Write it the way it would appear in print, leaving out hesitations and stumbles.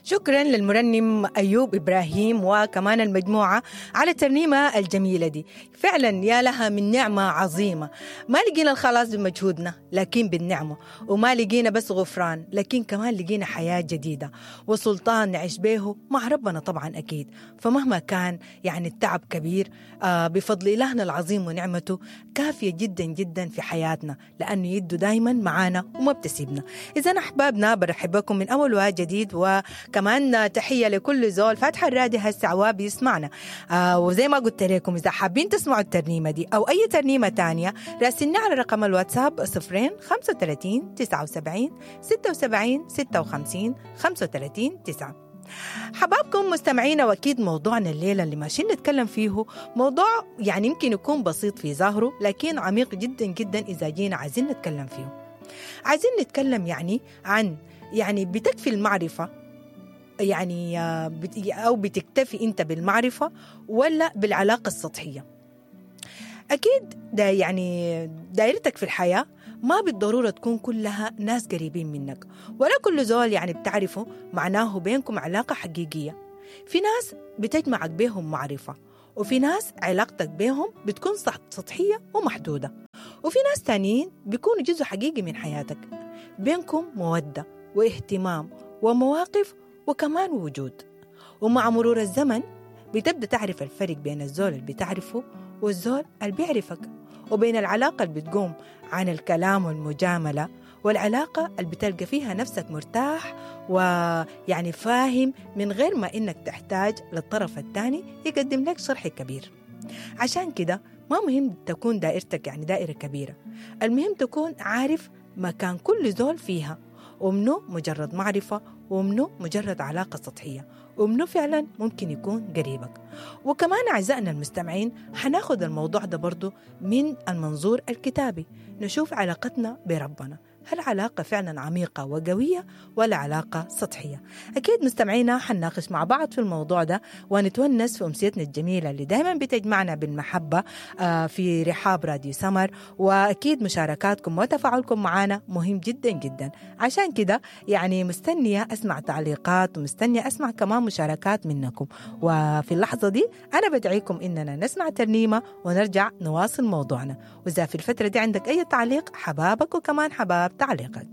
شكرا للمرنم أيوب إبراهيم وكمان المجموعة على الترنيمة الجميلة دي. فعلا يا لها من نعمة عظيمة. ما لقينا الخلاص بمجهودنا لكن بالنعمة، وما لقينا بس غفران لكن كمان لقينا حياة جديدة وسلطان نعيش به مع ربنا طبعا أكيد. فمهما كان يعني التعب كبير، بفضل إلهنا العظيم ونعمته كافية جدا جدا في حياتنا، لأنه يده دايما معانا وما بتسيبنا. إذا أحبابنا برحب بكم من أول وجديد، وكمان تحية لكل زول فاتح الراديو هسه وبيسمعنا. وزي ما قلت لكم إذا حابين تسمعوا الترنيمة دي أو أي ترنيمة تانية راسلنا على رقم الواتساب 0 35 79 76 56 35 9. حبابكم مستمعينا، واكيد موضوعنا الليلة اللي ماشيين نتكلم فيه موضوع يعني يمكن يكون بسيط في ظاهره لكن عميق جدا جدا إذا جينا عايزين نتكلم فيه. عايزين نتكلم يعني عن يعني بتكفي المعرفة يعني أو بتكتفي أنت بالمعرفة ولا بالعلاقة السطحية؟ أكيد ده يعني دائرتك في الحياة ما بالضرورة تكون كلها ناس قريبين منك، ولا كل زول يعني بتعرفه معناه بينكم علاقة حقيقية. في ناس بتجمعك بيهم معرفة، وفي ناس علاقتك بيهم بتكون سطحية ومحدودة، وفي ناس تانيين بيكونوا جزء حقيقي من حياتك، بينكم مودة واهتمام ومواقف وكمان وجود. ومع مرور الزمن بتبدأ تعرف الفرق بين الزول اللي بتعرفه والزول اللي بيعرفك، وبين العلاقة اللي بتقوم عن الكلام والمجاملة، والعلاقة اللي بتلقى فيها نفسك مرتاح ويعني فاهم من غير ما إنك تحتاج للطرف الثاني يقدم لك شرح كبير. عشان كده ما مهم تكون دائرتك يعني دائرة كبيرة، المهم تكون عارف مكان كل زول فيها، ومنه مجرد معرفة، ومنه مجرد علاقة سطحية، ومنه فعلا ممكن يكون قريبك. وكمان أعزائنا المستمعين حناخد الموضوع ده برضو من المنظور الكتابي، نشوف علاقتنا بربنا، هل علاقة فعلا عميقة وقوية ولا علاقة سطحية؟ أكيد مستمعينا حنناقش مع بعض في الموضوع ده ونتونس في أمسيتنا الجميلة اللي دايما بتجمعنا بالمحبة في رحاب راديو سمر. وأكيد مشاركاتكم وتفاعلكم معنا مهم جدا جدا، عشان كده يعني مستنية أسمع تعليقات ومستنية أسمع كمان مشاركات منكم. وفي اللحظة دي أنا بدعيكم إننا نسمع ترنيمة ونرجع نواصل موضوعنا، وإذا في الفترة دي عندك أي تعليق حبابك وكمان حباب تعليقك.